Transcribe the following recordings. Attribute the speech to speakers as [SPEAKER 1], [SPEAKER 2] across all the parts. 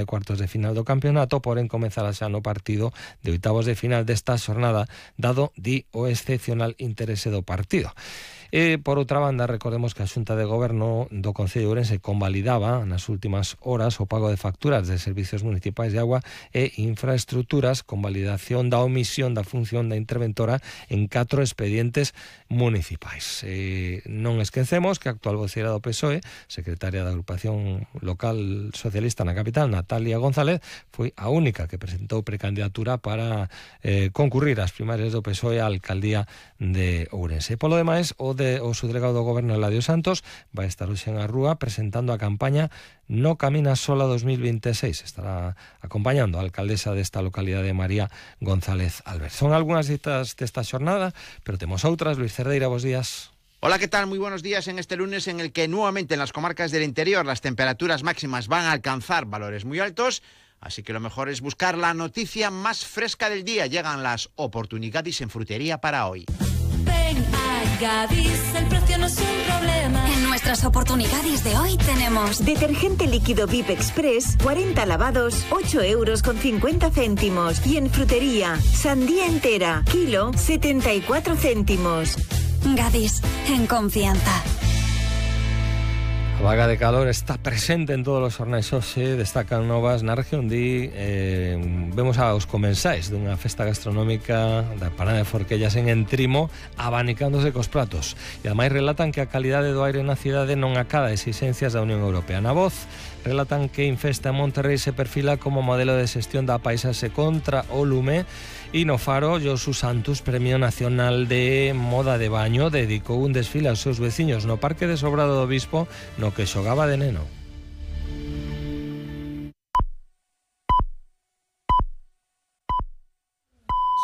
[SPEAKER 1] de cuartos de final do campeonato, porén comezará xa no partido de oitavos de final desta xornada, dado o excepcional interese do partido. E, por outra banda, recordemos que a Xunta de Goberno do Concello de Ourense convalidaba nas últimas horas o pago de facturas de servicios municipais de agua e infraestructuras, con validación da omisión da función da interventora en 4 expedientes municipais. Non esquecemos que a actual voceira do PSOE, secretaria da agrupación local socialista na capital, Natalia González, foi a única que presentou precandidatura para concurrir ás primarias do PSOE á alcaldía de Ourense. Polo demais, o subdelegado do Goberno, Eladio Santos, vai estar hoxe en a rúa presentando a campaña No Camina Sola 2026. Estará acompañando a alcaldesa desta localidade, María González Albert. Son algunhas citas desta xornada, pero temos outras. Luis Cerdeira, bos días.
[SPEAKER 2] Hola, ¿qué tal? Muy buenos días en este lunes en el que nuevamente en las comarcas del interior las temperaturas máximas van a alcanzar valores muy altos, así que lo mejor es buscar la noticia más fresca del día. Llegan las oportunidades en frutería para hoy.
[SPEAKER 3] Ven a Gadis, el precio no es un problema.
[SPEAKER 4] En nuestras oportunidades de hoy tenemos
[SPEAKER 5] detergente líquido VIP Express, 40 lavados, 8,50 €. Y en frutería, sandía entera, kilo, 74 céntimos.
[SPEAKER 4] Gadis, en confianza.
[SPEAKER 1] A vaga de calor está presente en todos os xornais hoxe, destacan novas na región vemos aos comensais dunha festa gastronómica da Parada de Forquellas en Entrimo abanicándose cos pratos, e ademais relatan que a calidade do aire na cidade non acada exigencias da Unión Europea. Na Voz relatan que Infesta en Monterrey se perfila como modelo de xestión da paisaxe contra o lume, e no Faro, Josu Santos, Premio Nacional de Moda de Baño, dedicou un desfile aos seus veciños no Parque de Sobrado do Bispo, no que xogaba de neno.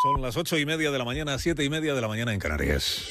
[SPEAKER 6] Son las 8:30 de la mañana, 7:30 de la mañana en Canarias.